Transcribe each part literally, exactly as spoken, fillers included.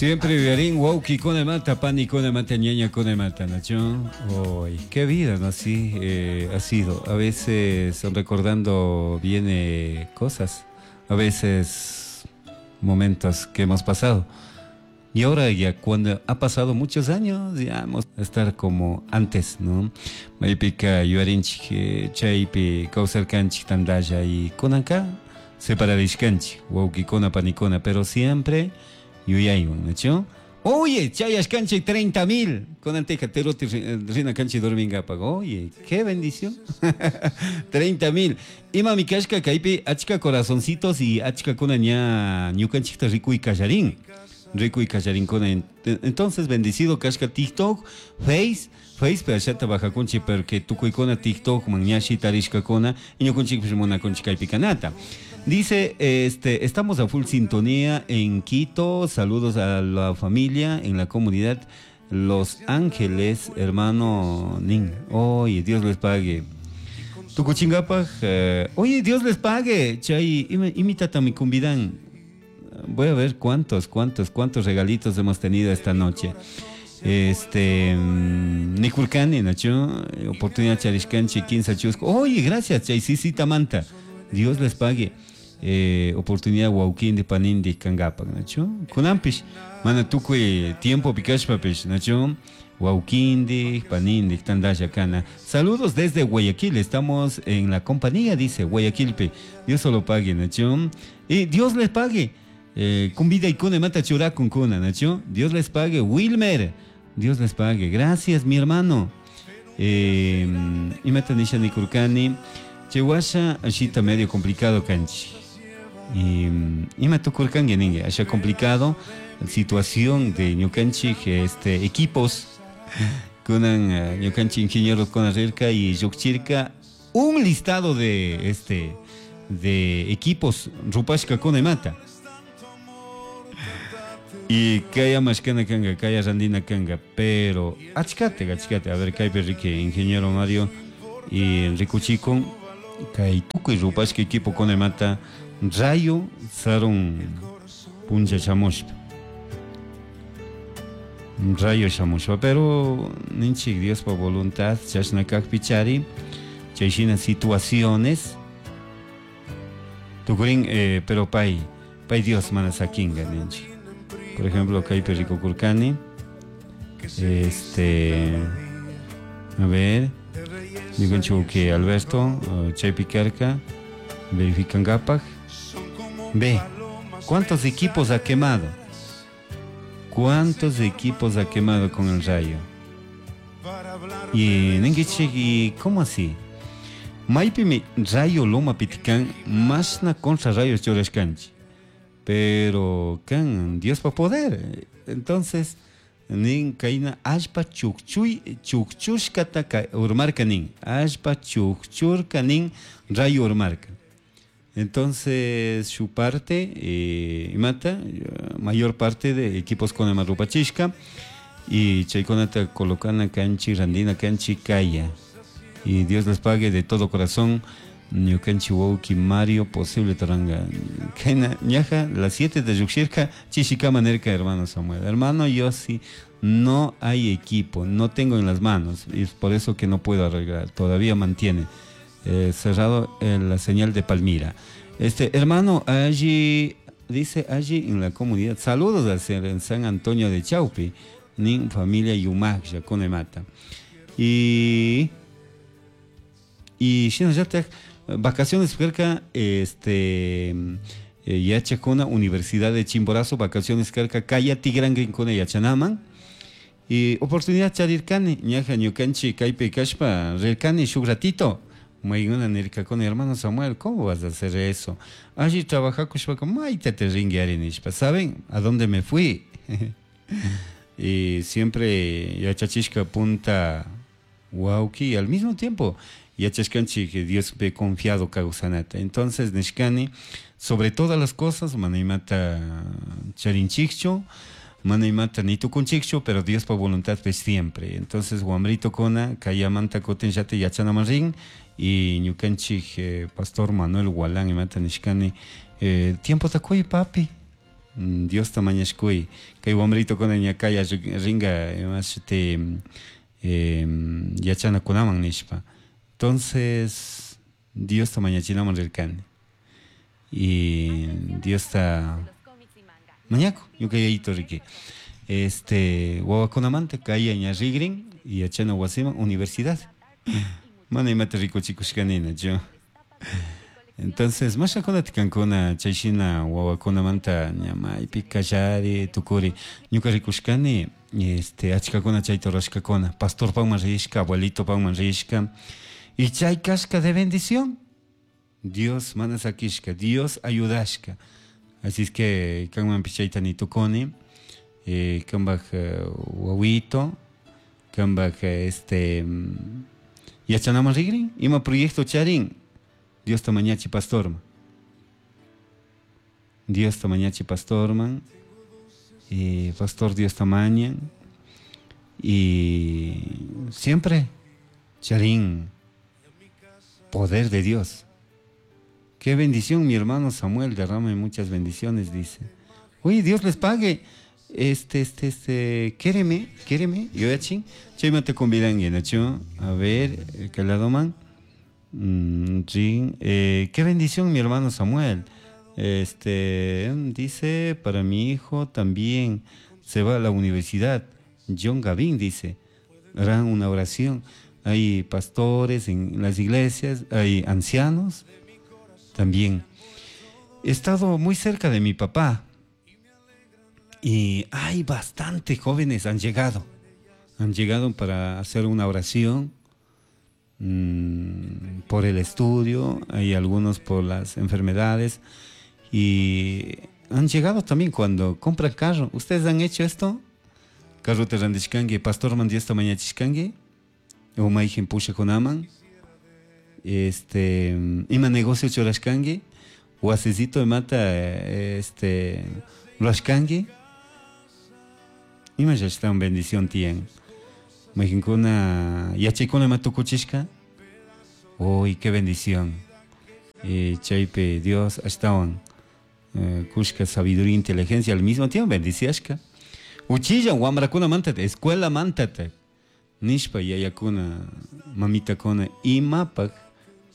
Siempre yuyarin wawkikunamanta, panikunamanta, ñañakunamanta, ¿no? Uy, qué vida, ¿no? Así eh, ha sido. A veces recordando viene cosas, a veces momentos que hemos pasado. Y ahora ya cuando ha pasado muchos años, ya vamos a estar como antes, ¿no? Maypika yuyarinchik chaypi kawsarkanchik tantalla y kunanka separarishkanchik, wawkikuna, panikuna, pero siempre yuyaywan, ¿no? Oye, chayashkanchik treinta mil. Kunanteja teruti rina kanchik dormingapaq. Oye, qué bendición. treinta mil. Imami kashka kaypi achka corazoncitos y achka kuna ña ñukanchikta rikuy kallarin. Rikuy kallarinkuna. Entonces, bendecido kashka TikTok, Face, Face pe ashata bajakunchik porque tukuykuna TikTok man ña shitarishkakuna y ñukanchikpish munakunchik kaypi kanata. Dice, este, estamos a full sintonía en Quito, saludos a la familia en la comunidad Los Ángeles, hermano Nin. Oye, Dios les pague. Tukuchingapaj, eh, oye, Dios les pague. Chay, imitata mi cumbidan. Voy a ver cuántos, cuántos, cuántos regalitos hemos tenido esta noche. Este, Nikurkani, Nacho, oportunidad charishkanchi, quince chusco. Oye, gracias, chay, sí, sí, tamanta. Dios les pague. Eh, oportunidad wawkindi panindi kangapak, nacho. Kunanpish, mana tukuy tiempo pikashpapish, nacho. Wawkindi, panindi, tandalla kana. Saludos desde Guayaquil, estamos en la compañía, dice Guayaquilpe. Dios solo pague, nacho. Y Dios les pague. Eh, kumbida y kune mata churakun kuna, nacho. Dios les pague. Wilmer, Dios les pague. Gracias, mi hermano. Eh, y mata nisha nikurkani. Chihuahua, ashita medio complicado kanchi. Y ima tukurkangi ningue, asha complicado situación de ñukanchik, este, equipos kunan ñukanchik ingenieros con arrirka y yukchirka un listado de este de equipos rupashka kunamata. Y kaya mashkana kanga, kaya randina kanga, pero achkate, achkate, a ver kaypi riki ingeniero Mario y rikuchikun kay tukuy rupashka equipo kunamata rayo sarun puncha shamushpa. Rayo shamushpa, pero ninchik Diospa voluntad chashna kakpi chari chayshina situaciones tukurin, eh, pero pay, pay Dios mana sakinga ninchik. Por ejemplo, kaypi rikukurkani, este, a ver, ñukanchik que Alberto, chaypi karka, verifican gapaj. Ve, ¿cuántos equipos ha quemado? ¿Cuántos equipos ha quemado con el rayo? Y ninguichik, ¿y cómo así? Maypimi rayo loma pitikan, masna contra rayos churashkanchik. Pero kan Dios pa poder. Entonces, nin kaina allpa chukchuy, chukchushkata ka, urmarka nin. Allpa chukchurka nin rayo urmarka. Entonces, su parte, eh, mata, mayor parte de equipos con Amarrupachishka y chaykunata colocana kanchi, randina kanchi, kaya. Y Dios les pague de todo corazón. Ñukanchi wawki Mario, posible taranga. Kaina, ñaja, las siete de Yuxirka, chishikama nerka, hermano Samuel. Hermano, yo sí, no hay equipo, no tengo en las manos, y es por eso que no puedo arreglar, todavía mantiene. Eh, cerrado, eh, la señal de Palmira. Este hermano, allí, dice allí en la comunidad, saludos al ser en San Antonio de Chaupi, nin familia Yumac, Yaconemata. Y, y si ya te, vacaciones cerca, este, eh, Yachacona, Universidad de Chimborazo, vacaciones cerca, Kaya Tigranguincona Yachanaman. Y oportunidad charirkani, ñaja ñukanchi, kaypi kashpa, rirkani, shuk ratito. Mayguna nirka con hermano Samuel, ¿cómo vas a hacer eso? Allí trabaja kushpaka, mayta te ringuiari nishpa. ¿Saben a dónde me fui? Y siempre yachachishka punta wauki, y al mismo tiempo yachashkanchi que Dios ve confiado kawsanata. Entonces nishkani, sobre todas las cosas, manaymata charinchikchu, manaymata ni tukunchikchu, pero Dios pa voluntad pues siempre. Entonces wamrito kona, kayamanta kotin yate yachanaman rin, y ñukanchik, eh, pastor Manuel Gualán imata nishkani, eh, tiempo takuy papi, Diosta mañashkuy kay wamritukuna ña kaya ringa imashuti eh, yachanakunaman nishpa. Entonces Diosta mañachinaman rirkani y Diosta mañaku ñuka yayito riki este wawakunamanta kaya ña rigrin yachana wasiman universidad mana imata rikuchikushkaninachu. Entonces mashakunata kankuna chayshina wawakunamanta ña maypi kallari tukuri ñuka rikushkani este achkakuna chayta rurashkakuna pastorpakman rishka abuelitopakman rishka y chay kashka de bendición Dios mana sakishka Dios ayudashka así es que kanmanpish chayta nitukuni eh, kanpak wawito kanpak este yachanaman rigrin ima proyecto charin Diosta mañachi pastorman Diosta mañachi pastorman eh, pastor Diosta mañan y siempre charin poder de Dios. Qué bendición, mi hermano Samuel, derrame muchas bendiciones, dice. Oye, Dios les pague. Este, este, este, quéreme, quéreme, yo ya te convidan, a ver, caladoman. Mm, sí, eh, qué bendición, mi hermano Samuel. Este, dice, para mi hijo también se va a la universidad. John Gavin dice, harán una oración. Hay pastores en las iglesias, hay ancianos también. He estado muy cerca de mi papá y hay bastante jóvenes han llegado. Han llegado para hacer una oración mmm, por el estudio, hay algunos por las enfermedades y han llegado también cuando compran carro. ¿Ustedes han hecho esto? Carro te randishkangi, pastor man Diosta mañachishkangi, o mayjin pushakunaman, este, ima negocio churashkangi, wasicito imata este, rurashkangi, ima llashtawan bendición tiyan. Mayjinkuna yachaykuna ima tukuchishka, uy, qué bendición. Eh, chaypi Dios ashtawan eh, kushka sabiduría, inteligencia al mismo tiempo bendiciashka. Uchilla wamrakuna mantata, escuela mantata, nishpa yayakuna, mamitakuna, imapak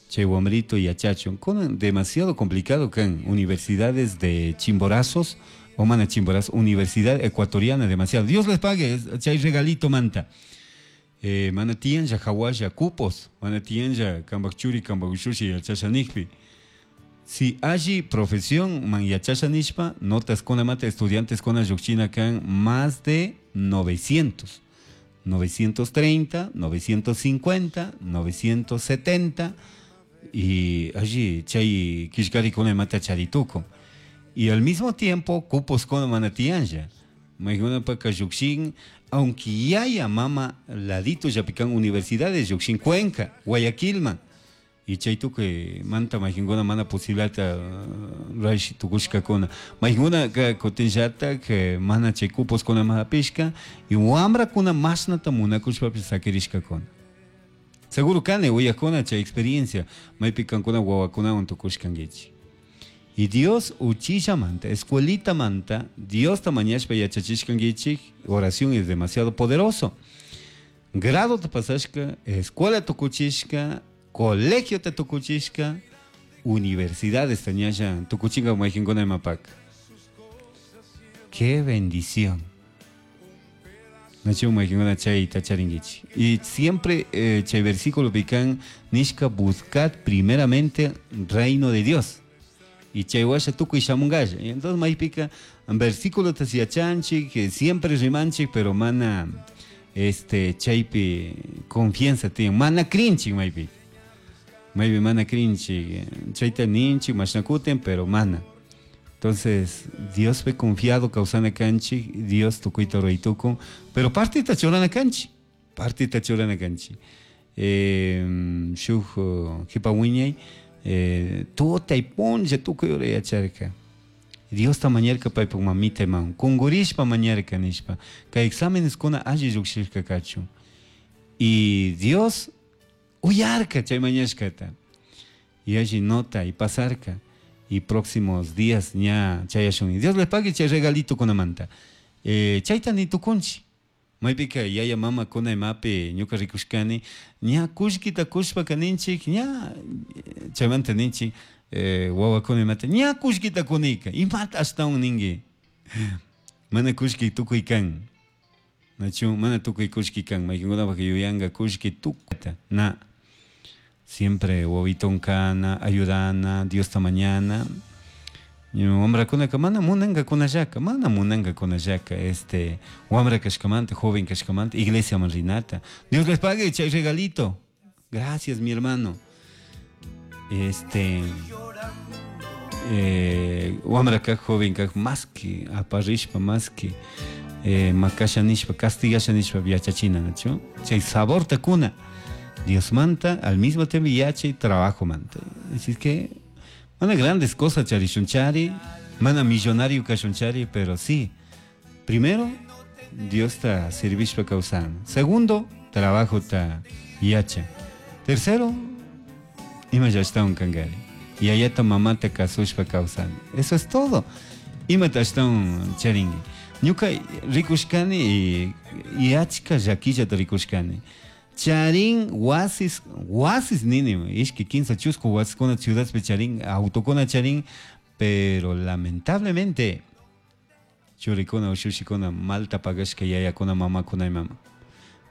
chay wamrito yachachun. Kunan demasiado complicado kan universidades de chimborazos, o mana chimborazo, universidad ecuatoriana demasiado. Dios les pague, chay regalito manta. Eh, mana tiyan ya hawalla cupos, mana tiyan ya kambak churi, kambak ushushi yachasha nikpi. Si allí profesión man yachasha nishpa, notas con mata estudiantes con lluqchina kan más de novecientos. novecientos treinta, novecientos cincuenta, novecientos setenta y allí chay kishkari con mata charituco. Y al mismo tiempo cupos con mana tiyan ya. Maykuna paka lluqshin, aunque yaya mama ladito ya pican universidades lluqshin Cuenca, Guayaquilman. Y chay tukuy manta mayjinkuna mana posibilidadta rurash tukushkakuna. Mayjinkuna kutinllatak mana chay cuposkuna hapishka y wamrakuna mashnata munakushpapish sakirishkakuna. Seguro kani uyakuna chay experiencia maypi kankuna wawakunawan tukushkankichik. Y Dios uchillamanta, escuelita manta, Diosta mañashpa yachachishkankichik, oración es demasiado poderoso. Grado te pasashka, escuela tukuchishka, colegio te tukuchishka, universidades tañasha tukuchinga mayjinkuna imapak. Qué bendición. Nachu mayjinkuna chayta charinkichik. Y siempre eh, chay versículo pican nishka buscad primeramente reino de Dios. Y chay washa tukuy shamungasha. Y entonces maypika versículo te yachanchik, que siempre rimanchik, pero mana este chaypi confianza tiyan, mana crinchik maypi. Maypi mana crinchik, chayta ninchik, mashnakuten, pero mana. Entonces, Dios fue confiado kawsana kanchik, Dios tukuyta ruraytukun, pero partita churana kanchik, partita churana kanchik. Eh, shuk jipa wiñay, eh, tutay punlla tukuy ura yacharka. Diosta mañarka paypak mamita imawan, kunkurishpa mañarka nishpa, kay exámenes kuna alli llukshishka kachun. Y Dios uyarka chay mañashkata. Y alli nota y pasarka. Y próximos días ña chayashun. Dios les pague chay regalito kunamanta. Eh, chayta ni tukunchi. Maypika yaya mama kuna imapi ñuka rikushkani ña kullkita kushpaka ninchik ña chaymanta ninchik eh, wawakuna imata ña kullkita kunika imata ashtawan ninki mana kullki tukuy kan nachu mana tukuy kullki kan maykankunapak yuyanka kullki tukuyta na siempre wawiton kana ayudana Diosta mañana wamrakunaka mana munankakunallaka mana munankakunallaka este wamra kashkamanta joven kashkamanta iglesiaman rinata Dios les pague chay regalito gracias mi hermano este eh, wamra kak joven kak más que aparishpa más que eh, makasha nishpa castigasha nishpa yachachina nachu chay saborta kuna Dios manta al mismo tiempo yachay trabajo manta así es que mana grandes cosas charishunchari mana millonario kashunchari pero sí primero Dios ta servishpa kawsana segundo trabajo ta yacha tercero ima llashtawan kankari yayata mamata kasushpa kawsana eso es todo imata ashtawan charinki ñuka rikushkani y, y achka llakillata rikushkani charin wasis wasis nini ishki kinsa chusku wasiskuna ciudadpi charin autokuna charin pero lamentablemente churikuna ushushikuna malta pagashka yayakuna mamakuna imama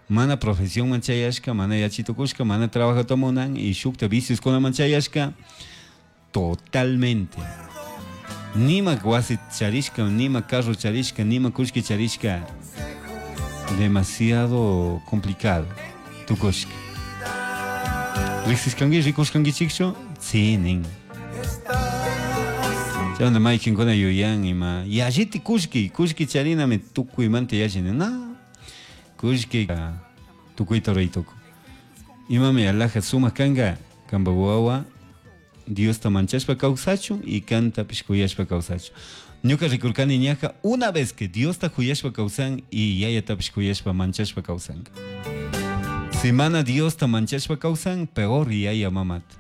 mana profesionman chayashka mana yachitukushka mana trabajata munan y shukta vicioskunaman chayashka totalmente nima wasi charishka nima carro charishka nima kullki charishka demasiado complicado tukushka riqsishkanki rikushkankichikchu sí nin chaymanta maykinkuna yuyan ima yalliti kullki kullki charinami tukuymanta yallini na kullki tukuyta ruray tukun imami alhaja sumak kanka kanpak wawa Diosta manchashpa kawsachun y kantapish kuyashpa kawsachun ñuka rikurkani ñaja una vez que Diosta kuyashpa kawsan y yayatapish kuyashpa manchashpa kawsanka si mana Diosta manchashpa kawsan peor yaya mamata